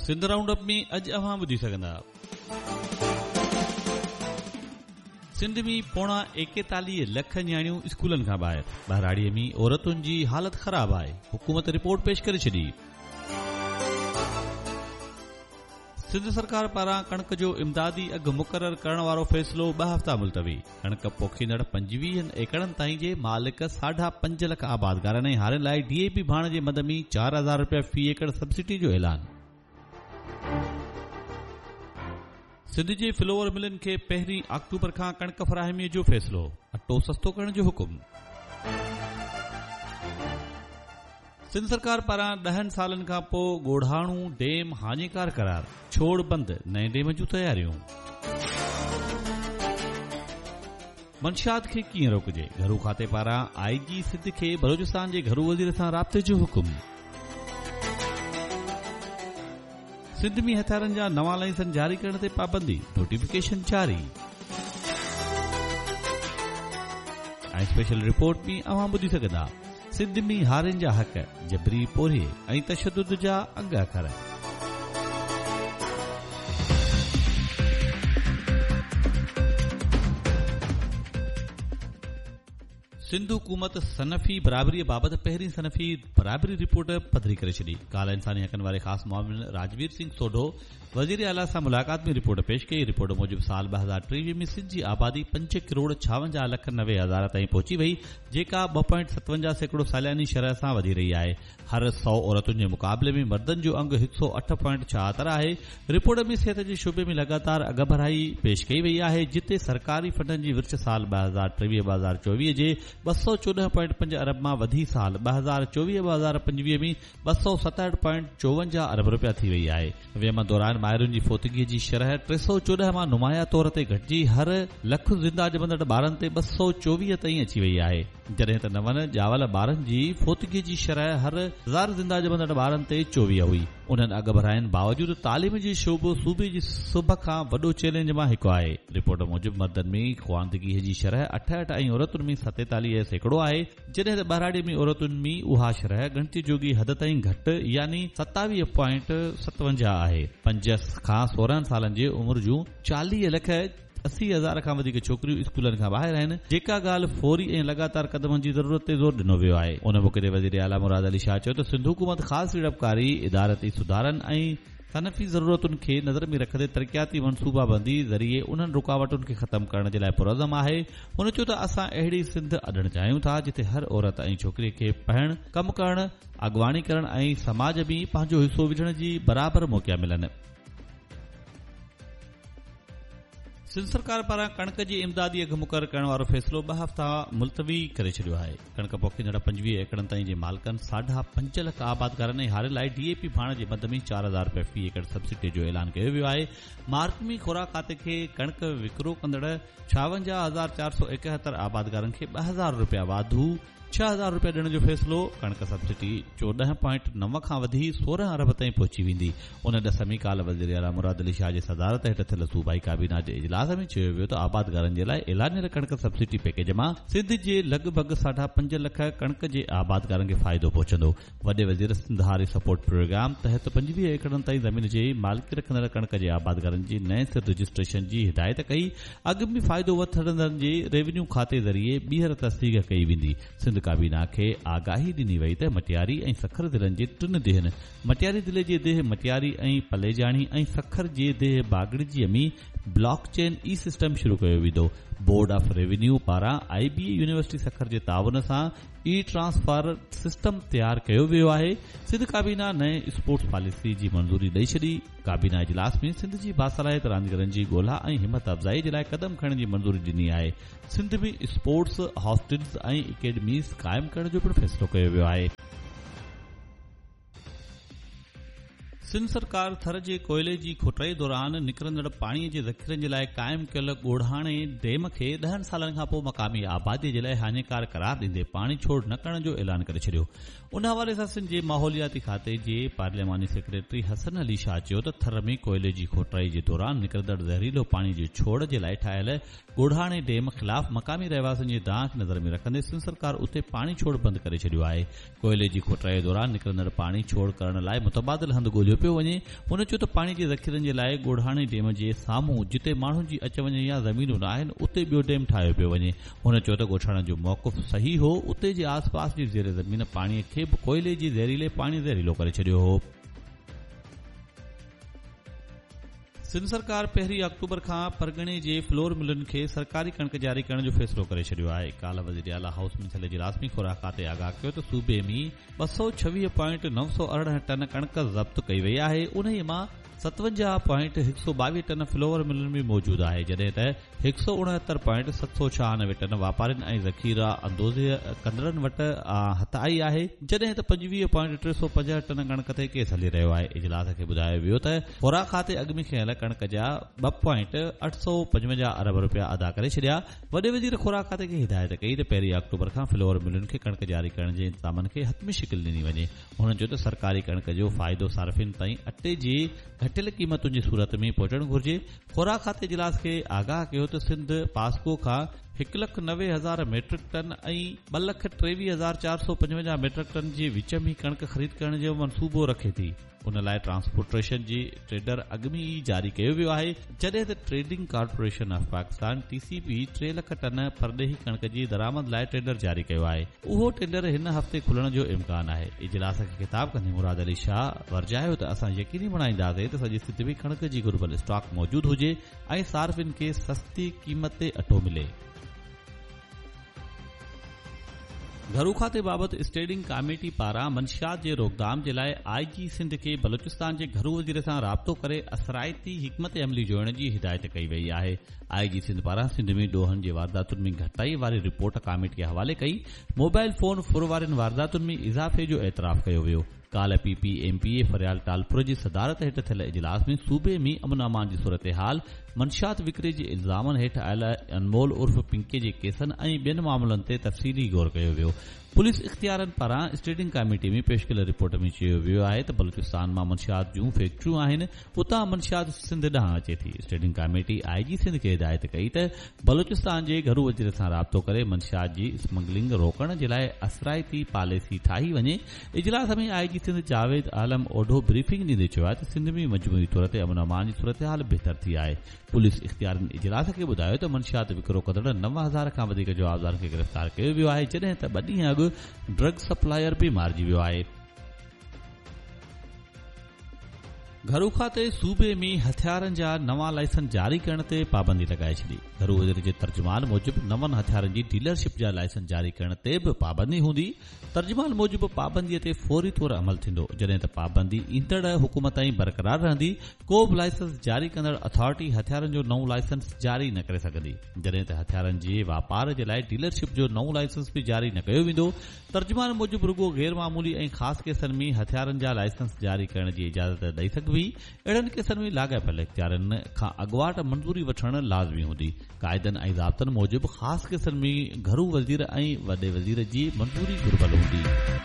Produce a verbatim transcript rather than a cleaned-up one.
Sindh round up ۾ اڄ اوهان ٻڌي سگهندا. سنڌ ۾ پوڻا ايڪيتاليهه لک نياڻيون اسڪولن کان ٻاهر، ٻهراڙيءَ ۾ عورتن جي حالت خراب آهي، حڪومت رپورٽ پيش ڪري ڇڏي. سنڌ سرڪار پاران ڪڻڪ جو امدادي اگهه مقرر ڪرڻ وارو فيصلو ٻه هفتا ملتوي. ڪڻڪ پوکيندڙ پنجويهن ايڪڙن تائين جي مالڪ ساڍا پنج لک آبادگارن ۽ هارين لاءِ ڊي اي پي ڀاڻ جي مد ۾ چار هزار رپيا في ايڪڙ سبسڊي جو اعلان. سنڌ جي فلور ملن کي پهرين آڪٽوبر کان ڪڻڪ فراهميءَ جو فيصلو، اٽو سستو ڪرڻ جو حڪم. سنڌ سرڪار پاران ڏهن سالن کان پوءِ ڳوڙهاڻو ڊيم هاڃيڪار قرار، ڇوڙ بند، نئين ڊيم جون تياريون. منشيات کي ڪيئن روڪجي، گهرو کاتي پاران آئي جي سنڌ کي بلوچستان جي گهرو وزير سان رابطي جو حڪم. سنڌ ۾ هٿيارن جا نوان لائسنس جاري ڪرڻ تي پابندي، نوٽيفڪيشن جاري. ۽ اسپيشل رپورٽ ۾ اوهان ٻڌي سگهندا سنڌ ۾ هارين جا حق، جبري پورهيي ۽ تشدد جا انگ اکر. سنڌ حڪومت صنفي برابريءَ بابت پهرين صنفي برابري رپورٽ پڌري ڪري ڇڏي. ڪالهه انساني حقن واري خاص معاون راجوير سنگهه سوڍو وزير اعليٰ سان ملاقات ۾ رپورٽ پيش ڪئي. رپورٽ موجب سال ٻه هزار ٽيويهه ۾ سنڌ جي آبادي پنج ڪروڙ ڇاونجاهه لک نوي هزار تائين پهچي وئي، جيڪا ٻه پوائنٽ ستونجاهه سيڪڙو سالياني شرح سان وڌي رهي آهي. هر سؤ عورتن جي مقابلي ۾ مردن جو انگ هڪ سؤ اٺ پوائنٽ ڇاهتر آهي. رپورٽ ۾ صحت جي شعبي ۾ لڳاتار اڳڀرائي پيش ڪئي وئي آهي، جتي سرڪاري فنڊن جي ورڇ سال ٻه هزار ٽيويهه ٻه هزار چوويهه جي ٻه سؤ چوڏهن پوائنٽ پنج ارب مان وڌي سال ٻه هزار چوويهه ٻه هزار پنجويهه ۾ ٻه سؤ ستهٺ پوائنٽ چوونجاهه ارب رپيا ٿي وئي آهي. ويم دوران مائرن جي فوتگيءَ جي شرح ٽي سؤ چوڏهن مان نمايان طور تي گهٽجي هر لک زنده ڄمندڙ ٻارن تي ٻه سؤ چوويهه تائين اچي وئي آهي، جڏهن ته نون ڄاول ٻارن جي فوتگيءَ جي شرح هر هزار زنده ڄمندڙ ٻارن تي چوويهه هئي. انهن اڳڀراين باوجود تعليم جي شعبو صوبي جي سڀ کان وڏو چئلينج مان هڪ آهي. رپورٽ موجب مردن ۾ خواندگيءَ جي شرح اٺهٺ ۽ عورتن ۾ ستيتاليهه سيڪڙو آهي، جڏهن ته ٻهراڙيءَ ۾ عورتن ۾ اها شرح ڳڻتي جوڳي حد تائين گهٽ يعني ستاويهه پوائنٽ ستونجاهه آهي. پنج کان سورهن سالن جي عمر جون چاليهه لک اسي هزار کان وڌيڪ ڇوڪريون اسڪولن کان ٻاهر آهن، جيڪا ڳالهه فوري ۽ لڳاتار قدمن جي ضرورت تي زور ڏنو ويو آهي. ان موقعي تي وزير اعليٰ مراد علي شاهه چيو ته سنڌ حڪومت خاص سيڙپڪاري، ادارتي سڌارن ۽ صنفي ضرورتن کي نظر ۾ رکندي ترقياتي منصوبابندي ذريعي انهن رڪاوٽن کي ختم ڪرڻ جي لاءِ پرعزم آهي. هن چيو ته اسان اهڙي سنڌ اڏڻ چاهيون ٿا جتي هر عورت ۽ ڇوڪريءَ کي پڙهڻ، ڪم ڪرڻ، اڳواڻي ڪرڻ ۽ سماج ۾ پنهنجو حصو وجهڻ جي برابر موقعا ملن. سنڌ سرڪار پاران ڪڻڪ جي امدادي اگهه مقرر ڪرڻ وارو فيصلو ٻه هفتا ملتوي ڪري ڇڏيو آهي. ڪڻڪ پوکيندڙ پنجويهه ايڪڙن تائين جي مالڪن ساڍا پنج لک آبادگارن ۽ هارين لاءِ ڊي اي پي ڀاڻ جي مد ۾ چار هزار رپيا في ايڪڙ سبسڊي جو اعلان ڪيو ويو آهي. مارچ ۾ خوراڪ کاتي کي ڪڻڪ وڪرو ڪندڙ ڇاونجاهه هزار چار سؤ ايڪهتر آبادگارن کي ٻه هزار رپيا واڌو ڇهه هزار رپيا ڏيڻ جو فيصلو. ڪڻڪ سبسڊي چوڏهن پوائنٽ نو کان وڌي سورهن ارب تائين پهچي ويندي. ان ڏس ۾ ڪالهه وزير اعليٰ مراد علي شاهه جي صدارت هيٺ ٿيل صوبائي ڪابينا جي اجلاس ۾ چيو ويو ته آبادگارن جي لاءِ اعلانيل ڪڻڪ سبسڊي پيڪيج مان سنڌ جي لڳ ڀڳ ساڍا پنج لک ڪڻڪ جي آبادگارن کي فائدو پهچندو. وڏي وزير سنڌ هاري سپورٽ پروگرام تحت پنجويهه ايڪڙن تائين زمين جي مالڪي رکندڙ ڪڻڪ جي آبادگارن جي نئين سر رجسٽريشن جي هدايت ڪئي. اڳ ۾ فائدو وٺندڙن جي ريونيو کاتي ذريعي ٻيهر تصديق ڪئي ويندي. سنڌ ڪابينا کي آگاهي ڏني وئي ته مٽياري ۽ سکر ضلعن جي ٽن ديهن مٽياري ضلعي جي ديهه مٽياري ۽ پليجاڻي ۽ سکر جي ديهه باگڙجيءَ ۾ بلاڪ چين اي سسٽم شروع ڪيو ويندو. بورڊ آف ريونيو پاران I B A university Sukkur جي تعاون سان اي ٽرانسفر سسٽم تيار ڪيو ويو آهي. سنڌ ڪابينا نئين اسپورٽس پاليسي جي منظوري ڏئي ڇڏي. ڪابينا اجلاس ۾ سنڌ جي باصلاحيت رانديگرن جي ڳولها ۽ همت افزائي جي لاءِ قدم کڻڻ جي منظوري ڏني آهي. سنڌ ۾ اسپورٽس هاسٽلز ۽ اڪيڊميز قائم ڪرڻ جو پڻ فيصلو ڪيو ويو آهي. سنڌ سرڪار ٿر جي ڪوئلي جي کوٽائي دوران نڪرندڙ پاڻيءَ جي ذخيرن جي لاءِ قائم ڪيل ڳوڙهاڻي ڊيم کي ڏهن سالن کان پوءِ مقامي آباديءَ جي لاءِ هاڃيڪار قرار ڏيندي پاڻي ڇوڙ نه ڪرڻ جو اعلان ڪري ڇڏيو. ان حوالي سان سنڌ جي ماحولياتي کاتي جي پارلياماني سيڪريٽري حسن علي شاهه چيو ته ٿر ۾ ڪوئلي جي کوٽائي جي دوران نڪرندڙ زهريلو پاڻي جي ڇوڙ جي لاءِ ٺاهيل ڳوڙهاڻي ڊيم خلاف مقامي رهواسين جي دانهن کي نظر ۾ رکندي سنڌ سرڪار اتي پاڻي ڇوڙ بند ڪري ڇڏيو آهي. ڪوئلي جي کوٽائي دوران نڪرندڙ پاڻي ڇوڙ ڪرڻ لاءِ متبادل هنڌ ڳوليو ڪيو پيو وڃي. هن چيو ته پاڻي جي ذخيرن جي لاءِ ڳوڙهاڻي ڊيم جي سامهون جتي ماڻهن جي اچ وڃ يا زمينون نه آهن، اتي ٻيو ڊيم ٺاهيو پيو وڃي. هن چيو ته ڳوٺاڻن جو موقف صحيح هو، اتي جي آس پاس جي زير زمين پاڻي کي به ڪوئلي جي زهريلي پاڻي زهريلو ڪري ڇڏيو هو. سنڌ سرڪار پهرين آڪٽوبر کان پرڳڻي جي فلور ملن کي سرڪاري ڪڻڪ جاري ڪرڻ جو فيصلو ڪري ڇڏيو آهي. ڪالهه وزير اعليٰ هائوس ۾ ٿيل اجلاس ۾ خوراڪ کاتي آگاهه ڪيو ته صوبي ۾ ٻه سؤ ڇويهه پوائنٽ نو سؤ ارڙهن ٽن ڪڻڪ ضبط ڪئي وئي آهي، انهيء مان ستونجاهه پوائنٽ هڪ سؤ ٻاويهه ٽن فلور ملن ۾ موجود آهي، جڏهن ته هڪ سؤ اڻهتر پوائنٽ ست سؤ ڇهانوي ٽن واپارين ۽ ذخيره اندوزي ڪندڙن وٽ هٿ آئي آهي، جڏهن ته پنجويهه پوائنٽ ٽي سؤ پنجهٺ ٽن ڪڻڪ تي ڪيس هلي رهيو آهي. اجلاس کي ٻڌايو ويو ته خوراڪ کاتي اڳ ۾ کنيل ڪڻڪ جا ٻه پوائنٽ اٺ سؤ پنجونجاهه ارب رپيا ادا ڪري ڇڏيا. وڏي وزير خوراڪ کاتي کي هدايت ڪئي ته پهرين آڪٽوبر کان فلور ملن کي ڪڻڪ جاري ڪرڻ جي انتظامن کي حتمي شڪل ڏني وڃي. هنن چيو ته سرڪاري ڪڻڪ جو فائدو صارفين تائين اٽي جي گهٽيل قيمتن جي صورت ۾ پهچڻ گهرجي. خوراڪ کاتي اجلاس کي آگاهه ڪيو ته سنڌ پاسڪو کان هڪ لک نوي هزار ميٽرڪ ٽن ۽ ٻه لک ٽيويهه هزار چار سؤ پنجونجاهه ميٽرڪ ٽن جي وچ ۾ ڪڻڪ خريد ڪرڻ جو منصوبو رکي ٿي. ان لاءِ ٽرانسپورٽيشن جي ٽينڊر اڳ ۾ ئي جاري ڪيو ويو آهي، جڏهن ته trading corporation of Pakistan T C P ٽي لک ٽن پرڏيهي ڪڻڪ جي درآمد لاءِ ٽينڊر جاري ڪيو آهي. اهو ٽينڊر هن هفتي کلڻ جو امڪان آهي. اجلاس کي خطاب ڪندي مراد علي شاهه ورجايو ته اسان يقيني بڻائينداسين ته سڄي سنڌ ۾ ڪڻڪ جي گهربل اسٽاڪ موجود هجي ۽ صارفين کي سستي قيمت تي اٽو ملي. گهرو کاتي بابت اسٽينڊنگ ڪاميٽي پاران منشيات جي روڪٿام جي لاءِ آءِ جي سنڌ کي بلوچستان جي گهرو وزير سان رابطو ڪري اثرائتي حڪمت عملي جوڙڻ جي هدايت ڪئي وئي آهي. آءِ جي سنڌ پاران سنڌ ۾ ڏوهن جي وارداتن ۾ گهٽتائي واري رپورٽ ڪاميٽي حوالي ڪئي. موبائل فون ڦر وارين وارداتن ۾ اضافي جو اعتراف ڪيو ويو. ڪالهه P P M P A Faryal Talpur جي صدارت هيٺ ٿيل اجلاس ۾ صوبي ۾ امن امان جي صورتحال، منشيات وڪري جي الزامن هيٺ آيل انمول عرف پنڪي جي ڪيسن ۽ ٻين معاملن تي تفصيلي غور ڪيو ويو. پوليس اختيارن پاران اسٽينڊنگ ڪاميٽي ۾ پيش ڪيل رپورٽ ۾ چيو ويو آهي ته بلوچستان مان منشيات جون فيڪٽريون آهن، اتان منشيات سنڌ ڏانهن اچي ٿي. اسٽينڊنگ ڪاميٽي آءِ جي سنڌ کي هدايت ڪئي ته بلوچستان جي گهرو وزير سان رابطو ڪري منشيات جي اسمگلنگ روڪڻ جي لاءِ اثرائتي پاليسي ٺاهي وڃي. اجلاس ۾ آءِ جي سنڌ جاويد عالم اوڍو بريفنگ ڏيندي چيو آهي ته سنڌ ۾ مجموعي طور تي امن امان جي صورتحال بهتر ٿي آهي. پوليس اختيارن اجلاس کي ٻڌايو ته منشيات وڪرو ڪندڙ نو هزار کان وڌيڪ جوابدارن کي گرفتار ڪيو ويو آهي، جڏهن ته ٻه ڏينهن اڳ ڊرگ سپلائر به مارجي ويو آهي. گهرو کاتي صوبي ۾ هٿيارن جا نوان لائسنس جاري ڪرڻ تي پابندي لڳائي ڇڏي. گهرو وزير جي ترجمان موجب نون هٿيارن جي ڊيلرشپ جا لائسنس جاري ڪرڻ تي به پابندي هوندي. ترجمان موجب پابنديءَ تي فوري طور عمل ٿيندو، جڏهن ته پابندي ايندڙ حڪم تائين برقرار رهندي. ڪو به لائسنس جاري ڪندڙ اٿارٽي هٿيارن جو نئون لائسنس جاري نه ڪري سگهندي، جڏهن ته هٿيارن جي واپار جي لاءِ ڊيلرشپ جو نئون لائسنس به جاري نه ڪيو ويندو. ترجمان موجب رڳو غير معمولي ۽ خاص ڪيسن ۾ هٿيارن جا لائسنس جاري ڪرڻ جي اجازت ڏئي سگهبي. اهڙن ڪيسن ۾ لاڳاپيل اختيارن کان اڳواٽ منظوري وٺڻ لازمي هوندي. قاعدن ۽ ضابطن موجب خاص ڪيسن ۾ گهرو وزير ۽ وڏي وزير جي منظوري گهربل هوندي.